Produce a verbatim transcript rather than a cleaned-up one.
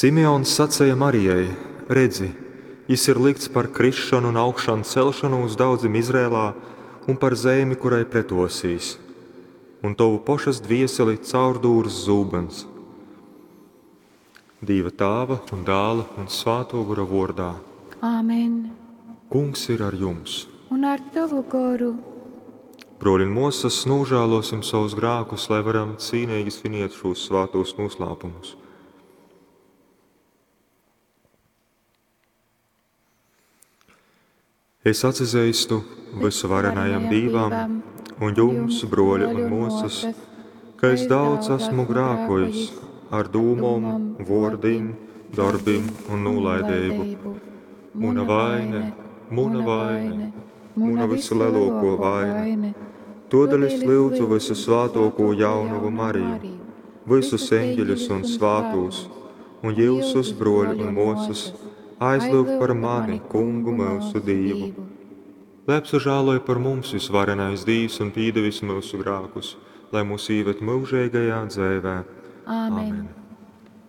Simeons saceja Marijai: Redzi, jys ir lykts par krisšonu un augšancelšonūs daudzim Izraelā un par zeimi, kurai pretōsīs. Un tovu pošas dvieseli caurdūrs zūbyns. Dīva Tāva un Dāla un Svātō Gora vōrdā. Āmen. Kungs ir ar jums! Un ar tovu goru. Brōļi un mōsas, nožēlosim savus grēkus, lai varam cīnīgi sviniet šos svātos noslēpumus. Es atzīstu visuvarenajam Dīvam un jums, broļi un mūsas, ka es daudz esmu grēkojis ar dūmom, vōrdim, darbim un nolaidību. Muna vaine, muna vaine, muna vislielāko vaine. Todēļ es lūdzu visu svātāko jaunavu Mariju, visus eņģeļus un svātos, un jūsus, broļi un mūsas, aizlūgt par mani, Kungu mūsu Dievu. Lai apsažāloj par mums visvarenais Dievs un pīdevis mūsu grēkus, lai mūs ieved mūžīgajā dzīvē. Āmen. Amen.